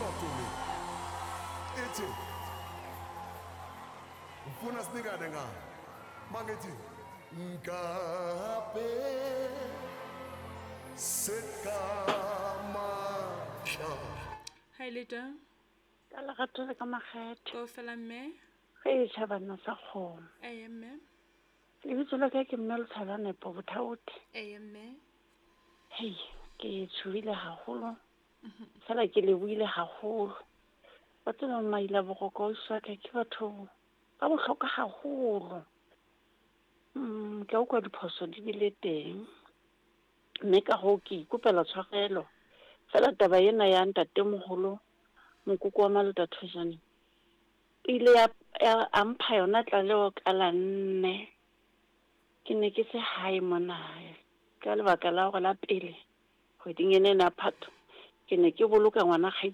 Talk to me. Ithi ngifuna sinikane ngayo. Mangithi ngabe sekamasha. Hi Leta. Ka lerato le ka makgethe. Kaofela mme. Ge e tšha banna sa kgomo. Eye mme. Lebitso la ka ke mme Letshala Nepo Bothaote. Eye mme. Hei, ke tshohile haholo. Fela ke lebohile haholo. Wa tseba maila boroko ausi wa ka ke batho ba bohlokwa haholo. Ke a utlwa diphoso di bile teng. Mme ka hoo ke ikopela tshwarelo. Fela taba ena ya ntatemoholo mokoko wa Malota Thojane e ile ya, ya a mpha yona tlaleho ka la nne. Ke ne ke se hae mona ka lebaka la hore la pele kgweding ena ena ya Phato ke ne ke boloka ngwana kgaitsedi.